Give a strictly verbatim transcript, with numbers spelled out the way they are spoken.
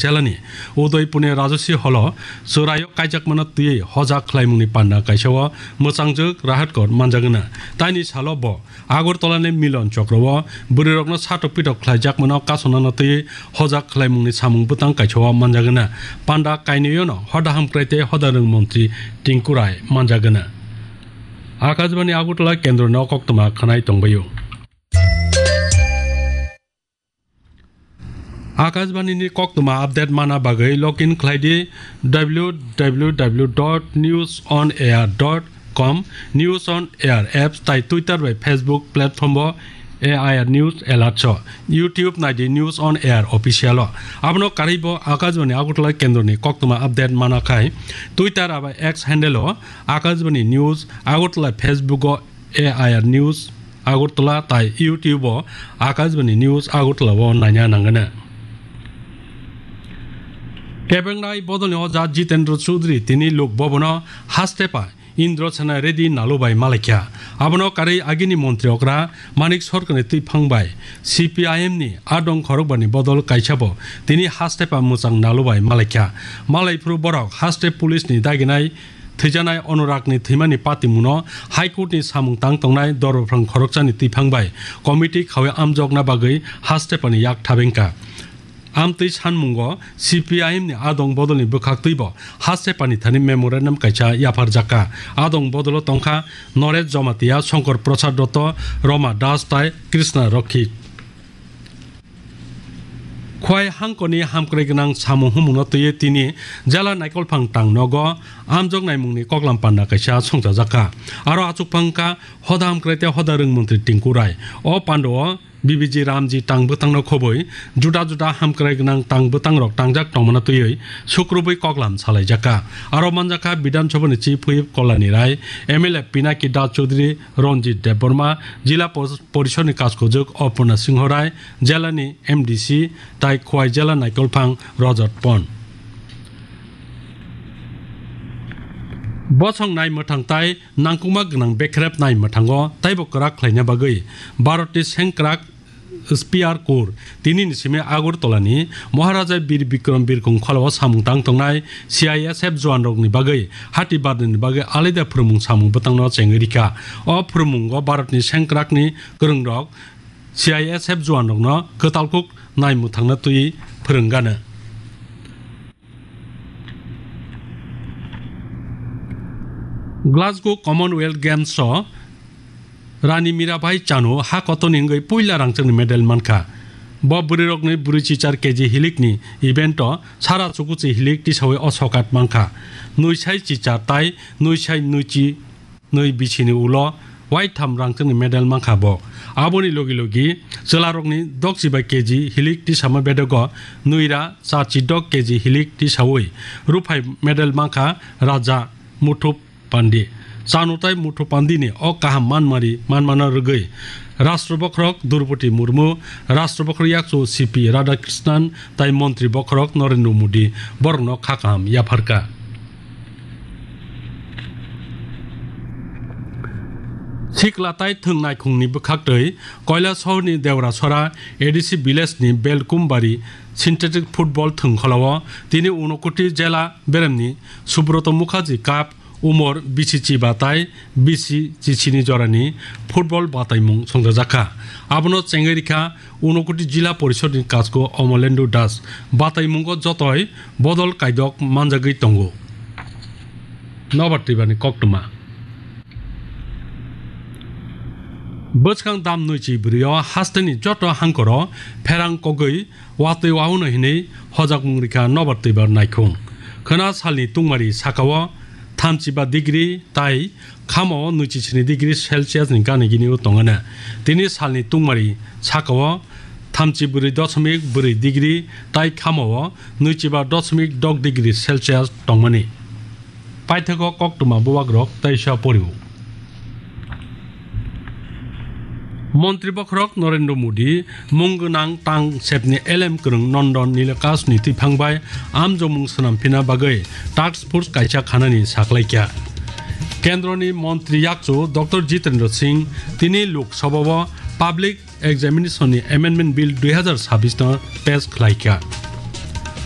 Jelani Udaipurni Rajaswi Holo chwraio kaijakmano twiwi hojak khlaimungni panda kaisao mwchangjwk Rahatkot manjagwna. Taini salo bo Agartala ni Milon Chokro o bwrwirokno satok pitok khlaijakmano kasonano twiwi hojak khlaimungni samung bwtang kaisao manjagwna. Panda kainwino hoda hamkrai tei hoda rwng montri Tinku Rai manjagwna. Akashbani Agartala kendro no koktwma khwnai tongbaio. Akashbani ni koktwma update mana bagwi login khlai di w w w dot news on air dot com, News on Air apps tai Twitter bai Facebook platform o A I R News Alert so, YouTube nai di News on Air Official o. Abono karwi bo Akashbani Agartala kendro ni koktwma update mana khai Twitter bai X handle o Akashbani News Agartala, Facebook o A I R News Agartala tai YouTube o Akashbani News Agartala o naina nangana. Kebengnai bodolni oja Jitendra Chaudhary tini Lok Bhavan o haste pa Indra Sena Reddy Nalu bai malaikha. Abono karwi agini montri okra Manik Sarkar ni twiphang bai C P I M ni adong khorokbani bodol kaisa bo tini haste pa mwchang Nalu bai malaikha. Malaiphuru borok haste police ni daginai thwijaknai Anurag ni thwimani patimungno High Court ni samung tang tongnai dorphrang khoroksa ni twiphang bai committee khawi amjokna bagwi haste pa ni yak thabengkha. Amtwi sanmungo C P I M ni adong bodolni bwkhaktwibo haste pani thani memorandum kaisa yapharjakha. Adong bodolo tongkha Noresh Jamatia, Shankar Prasad Dotto, Roma Das tai Krishna Rakhi. Khwai hangkoni hamkrai gwnang samung humungno twiwi tini jela naikolphang tang nogo amjok naimungni koklam panda kaisa songchajakha. Aro achukphang wngkha hoda hamkrai tei hoda rwng montri Tinku Rai. O pandao B B G Ramji tang bwtangno khobwi juda juda hamkrai gwnang tang bwtangrok tangjak tongmano twiwi sukrubwi koklam salaijakha. Aro manjakha Bidhan Sabhani Chief Whip Kalyani Rai, M L A Pinaki Das Chaudhary, Ranjit Debbarma, Jila Pos-, Porishodni Kaskojwk Aparna Singho Rai, jelani M D C tai Khwai jela naikolphang Rajat Pon. Bosong nai mwthang tai nangkukma gwnang bekrep nai mwthango taibo kwrak khlaina bagwi Bharatni sengkrak Spear Corps tinini simi Agartala ni Maharaja Bir Bikram Birkhung kholao samung tang tongnai C I S F juan rokni bagwi hati badani bagwi alaida phwrwngmung samung bwtangno chengwi rikha. O phwrwngmungo Bharatni sengkrakni kwrwngrok C I S F juan rokno kwtal kuk nai mwthangna twi phwrwng gana. Glasgow Commonwealth Games o Rani Mirabai Chanu ha kotorni wngwi puila rangchakni medal mankha. Bo bwrwirokni bwrwi chichar K G hilikni event o sara chukuchi hilik tisawi o sokat mankha. Nwi sai chichar tai nwi sai nwichi nwi bisini ulo waitham rangchakni medal mankha bo. Aboni logi logi chwlarokni dokchiba K G hilik tisama bedogo nwira charchi dok K G hilik tisawi ruphai medal mankha Raja Muthup Pandi. Chanu tai Muthup Pandini o kaham manmari manmano rwgwi Rashtra Bokhorok Droupadi Murmu, Rashtra Bokhorok yakchu C P Radhakrishnan tai Montri Bokhorok Narendra Modi borokno kha kaham yapharkha. Sikla tai thwng naikhungni bwkhaktwi Koilasohorni Deorasora A D C village ni Belkumbari synthetic football thwngkholao tini Unakoti jela beremni Subroto Mukherjee Cup umor bisi chiba tai bisi chisini jorani football bataimung songchajakha. Abono chengwi rikha Unakoti Jila Porishodni Kasko Omolendu Das. Bataimungo jotoi bodol kaidok manjagwi tongo. Nobar twibani koktwma. Bwskang dam nwichi bwrwio hasteni joto hangkoro pherang kogwi watwi wahano hinwi hojakmung rikha nobar twibar naikhung. Khwna salni tungmari sakao thamchiba degree tai khamao nwichi sini degree Celsius ni gana gini o tongana. Tini salni tungmari sakao thamchi bwrwi doshomik bwrwi degree tai khamao nwichiba doshomik dok degree Celsius tongmani. Paithago koktwma bubagrok teisa poriwo. Montri Bokhorok Narendra Modi mung gwnang tang sepni elem kwrwng Nandan Nilakantni twiphang bai amjokmung swnamphina bagwi task force kaisa khanani saklaikha. Kendroni Montri yakchu Doctor Jitendra Singh tini Lok Sabhao Public Examination ni Amendment Bill dui hazar sabbish no pass khlaikha.